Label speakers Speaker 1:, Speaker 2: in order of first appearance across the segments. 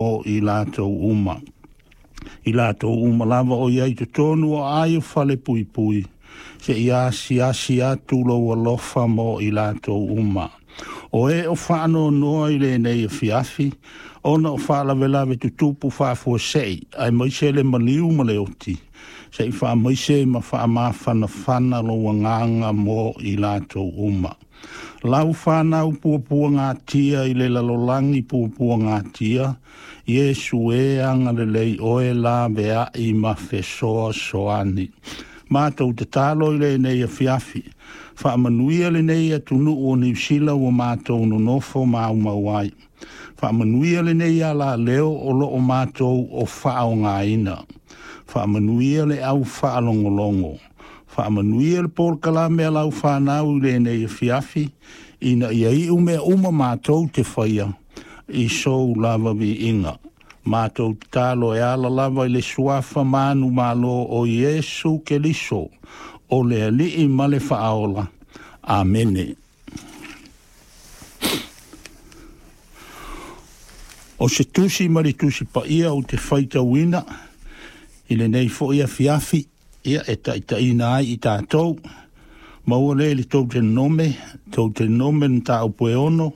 Speaker 1: O i latou uma. I latou uma lava o i ai i totonu o aai o falepuipui, se i asiasi atu lou alofa mo i latou uma. O e o faanoanoa i lenei afiafi, ona o faalavelave tutupu faafuasei, aemaise le maliu ma le oti, se i faamaise ma faamafanafana lou agaga mo i latou uma. Lau fanau puapuagatia i le lalolagi puapuagatia, Iesu e agalelei oe laveai ma fesoasoani. Matou tatalo i lenei afiafi, faamanuia lenei atunuu o Niu Sila ua matou nonofo maumau ai. Faamanuia lenei alaleo o loo matou o faaaogaina. Faamanuia le au faalogologo. Faamanuia le polokalame a lau fanau i lenei afiafi, ina ia iu mea uma matou te faia i sou lava viiga. Matou tatalo e ala lava i le suafa manumalo o Iesu Keriso, o le Alii ma le Faaola. Amene. O se tusi ma le tusi paia ou te faitauina i lenei foi afiafi, ia e taitaiina ai i tatou. Maua lea i le Toutenome mataupu e 6,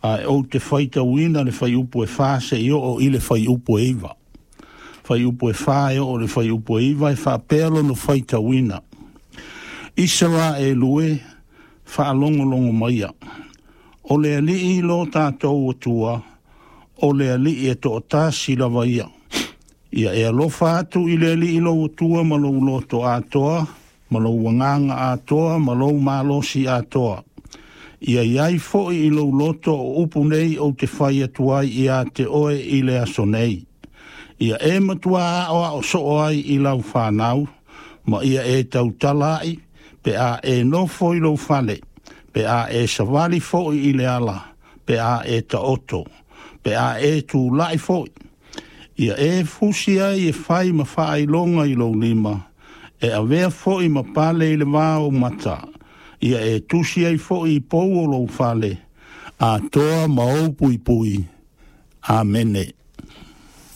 Speaker 1: ae ou te faitauina le fuaiupu e 4 seia oo i le fuaiupu e 9. Fuaiupu e 4 e oo i le fuaiupu e 9 e faapea lona faitauina. Isaraelu e, faalogologo maia. O le Alii lo tatou Atua, o le Alii e toatasi lava ia. Ia e alofa atu i le Alii lou Atua ma lou loto atoa, ma lou agaga atoa, ma lou malosi atoa. Ia iai foi i lou loto o upu nei ou te fai atu ai ia te oe i le aso nei. Ia e matua aoao soo ai i lau fanau, ma ia e tautala ai, pe a e nofo i lou fale, pe a e savali foi i le ala, pe a e taoto, pe a e tulai foi. Ia e fusi ai e fai ma faailoga i lou lima, e avea foi ma pale i le va o mata, ia e tusi ai foi i pou o lou fale, atoa ma ou puipui. Amene.